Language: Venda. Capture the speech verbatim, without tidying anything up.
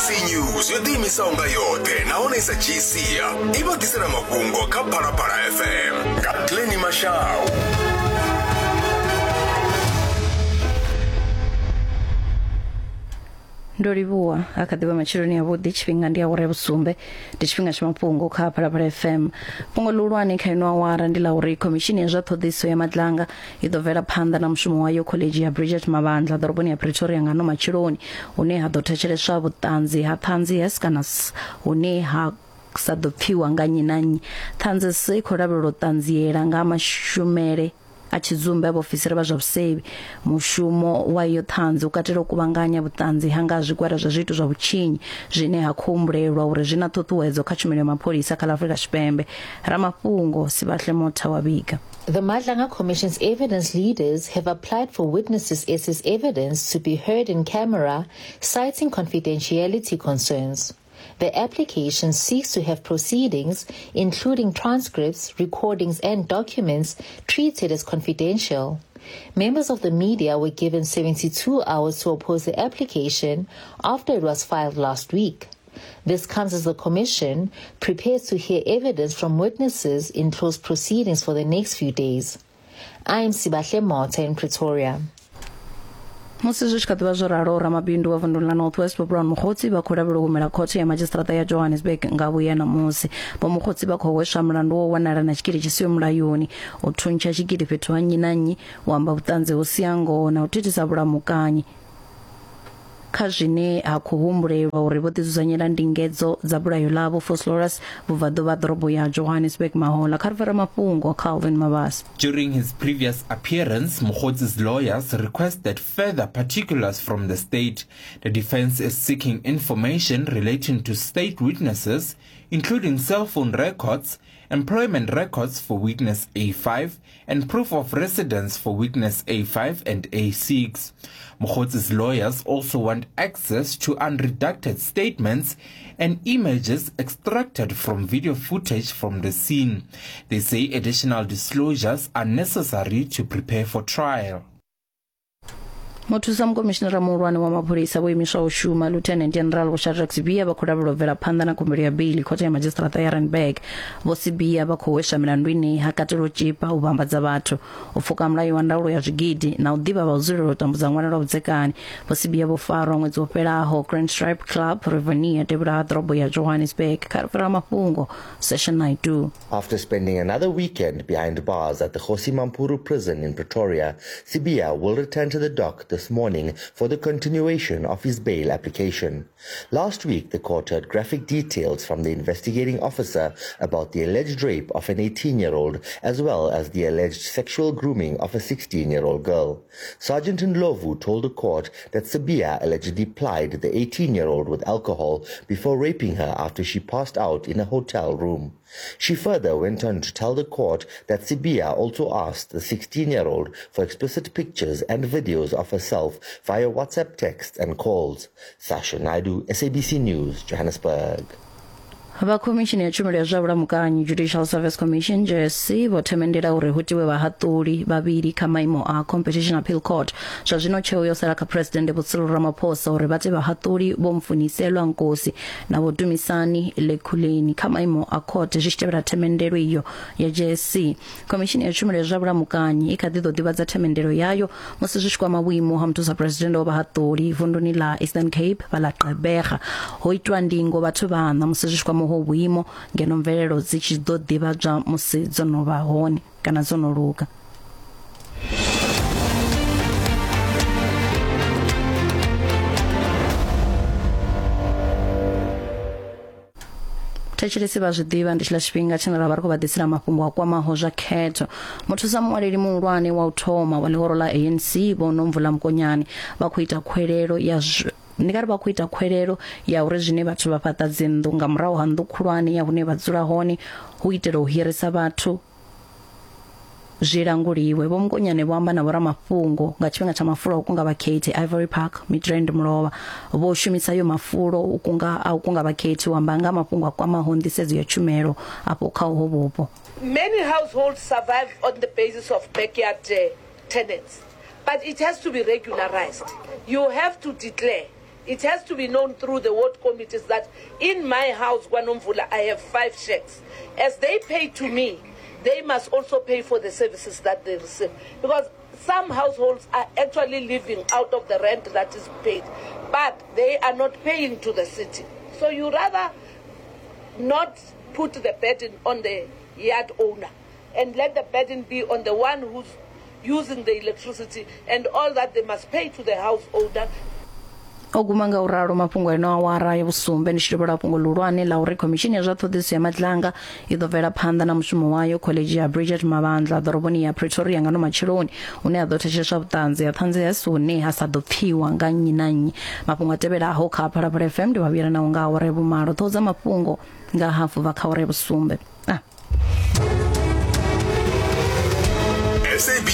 S A B C News yo ḓiimisaho nga yoṱhe nahone i sa dzhii sia i vha ḓisela mafhungo kha Phalaphala F M nga Glenny Mashau. Ndo livhuwa a kha ḓivha matsheloni a vhuḓi, tshifhinga ndi awara ya vhusumbe, ndi tshifhinga tsha mafhungo kha Phalaphala F M. Fhungo ḽihulwane kha ino awara ndi ḽa uri khomishini ya zwa ṱhoḓisiso ya Madlanga i ḓo bvela phanḓa na mushumo wayo khoḽedzhi ya Bridget Mabandla ḓoroboni ya Pretoria nga ano matsheloni, hune ha ḓo thetsheleswa vhuṱanzi ha ṱhanzi S kana S hune ha sa ḓo pfiwa nga nnyi na nnyi. Ṱhanzi S i khou lavhelelwa u ṱanziela nga mashumele a tshidzumbe a vhaofisiri vha zwa vhusevhi. Mushumo wa iyo ṱhanzi u katela u kuvhanganya vhuṱanzi ha nga zwigwada zwa zwiito zwa vhutshinyi zwine ha khou humbulelwa uri zwi na ṱhuṱhuwedzo kha tshumelo ya mapholisa kha ḽa Afrika Tshipembe. Ramafhungo Sibahle Motha wa vhiga. The Madlanga Commission's evidence leaders have applied for witnesses S's evidence to be heard in camera, citing confidentiality concerns. The application seeks to have proceedings, including transcripts, recordings and documents, treated as confidential. Members of the media were given seventy-two hours to oppose the application after it was filed last week. This comes as the Commission prepares to hear evidence from witnesses in closed proceedings for the next few days. I am Sibahle Motha in Pretoria. Musi zwi tshi kha ḓivha zwo ralo, ramabindu wa vunḓu ḽa North West Vho Brown Mogotsi vha khou lavhelelwa u humela khothe ya madzhisiṱiraṱa ya Johannesburg nga vhuya ṋamusi. Vho Mogotsi vha khou hweswa mulandu wo wanala na tshikili tshi siho mulayoni, u thuntsha tshikili fhethu ha nnyi na nnyi, u amba vhuṱanzi ho sia ngoho na u thithisa vhulamukanyi kha zwine ha khou humbulelwa uri vho ḓidzudzanyela ndingedzo dza bulayo ḽavho Vosloorus vhubvaḓuvha ḓorobo ya Johannesburg mahola. Kha ri fara mafhungo Calvin Mabasa. During his previous appearance, Mogotsi's lawyers requested further particulars from the state. The defense is seeking information relating to state witnesses, including cell phone records, employment records for witness A five, and proof of residence for witness A five and A six. Mogotsi's lawyers also want access to unredacted statements and images extracted from video footage from the scene. They say additional disclosures are necessary to prepare for trial. Muthusa mukomishinara muhulwane wa mapholisa vho imiswaho u shuma Lieutenant General Vho Shadrack Sibiya vha khou lavhelelwa u bvela phanḓa na khumbelo ya beili khothe ya madzhisiṱiraṱa ya Randburg. Vho Sibiya vha khou hweswa milandu ine ha katela u tzhipa, u vhambadza vhathu, u pfuka mulayo wa ndaulo ya zwigidi na u ḓivha vha u dzulela u tambudza ṅwana lwa vhudzekani. Vho Sibiya vho farwa ṅwedzi wo fhelaho Grand Stripe Club Rivonia devhula ha ḓorobo ya Johannesburg. Kha ri fhira mafhungo Session ninety-two. After spending another weekend behind bars at the Kgosi Mampuru prison in Pretoria, Sibiya will return to the dock this morning for the continuation of his bail application. Last week, the court heard graphic details from the investigating officer about the alleged rape of an eighteen-year-old as well as the alleged sexual grooming of a sixteen-year-old girl. Sergeant Ndlovu told the court that Sibiya allegedly plied the eighteen-year-old with alcohol before raping her after she passed out in a hotel room. She further went on to tell the court that Sibiya also asked the sixteen-year-old for explicit pictures and videos of herself via WhatsApp texts and calls. Sasha Naidu, S A B C News, Johannesburg. Vha khomishini ya tshumelo ya zwa vhulamukanyi Judicial Service Commission J S C vho themendela uri hu tiwe vhahaṱuli vhavhili kha maimo a Competition Appeal Court. Zwa zwino tsheo yo sala kha President Vho Cyril Ramaphosa uri vha te vhahaṱuli Vho Mfuniselwa Nkosi na Vho Dumisani Lekhuleni kha maimo a court zwi tshi tevhela themendelo iyo ya J S C. Khomishini ya tshumelo ya zwa vhulamukanyi i kha ḓi ḓo ḓivhadza themendelo yayo musi zwi tshi kwama vhuimo ha muthusa president wa vhahaṱuli vunduni ḽa Eastern Cape vha ḽa Gqeberha. Ho itwa ndingo vhathu vhaṋa musi zwi tshi kwama ho vhuimo ngeno mvelelo dzi tshi ḓo ḓivhadzwa musi dzo no vha hone kana dzo no luga. Thetshelesi vha zwi ḓivha ndi tshiḽa tshifhinga tshine ra vha ri khou vha ḓisela mafhungo a kwamaho zwa khetho. Muthusa muṅwaleli muhulwane wa u thoma wa ḽihoro ḽa A N C Vho Nomvula Mokonyane vha khou ita khwelelo ya ndi nga ri vha khou ita khwelelo ya uri zwine vhathu vha fhaṱa dzinnḓu nga murahu ha nnḓu khulwane ya hune vha dzula hone hu itela u hirisa vhathu zwi languliwe. Vho Mokonyane vho amba na vhoramafhungo nga tshifhinga tsha mafulo a u kunga vhakhethi Ivory Park Midrand Mulovha. Vho shumisa yo mafulo u kunga a u kunga vhakhethi u amba nga mafhungo a kwamaho nḓisedzo ya tshumelo afho kha uho vhupo. Many households survive on the basis of backyard uh, tenants, but it has to be regularized. You have to declare It has to be known through the ward committees that in my house, KwaNomvula, I have five shacks. As they pay to me, they must also pay for the services that they receive. Because some households are actually living out of the rent that is paid, but they are not paying to the city. So you rather not put the burden on the yard owner and let the burden be on the one who's using the electricity and all that they must pay to the house owner. O guma nga u ralo mafhungo eno awara ya vhusumbe ndi tshi tovhela fhungo ḽihulwane ḽa uri khomishini ya zwa ṱhoḓisiso ya Madlanga i ḓo bvela phanḓa na mushumo wayo khoḽedzhi ya Bridget Mabandla ḓoroboni ya Pretoria nga no matsheloni hune ha ḓo thetsheleswa vhuṱanzi ha ṱhanzi ya sune ha sa ḓo pfiwa nga nnyi na nnyi. Mafhungo a tevhelaho kha Phalaphala F M ndi vha vhuyela naho nga awara ya vhumalo. Ṱhoho dza mafhungo nga hafu vha kha awara ya vhusumbe. Ah. S A B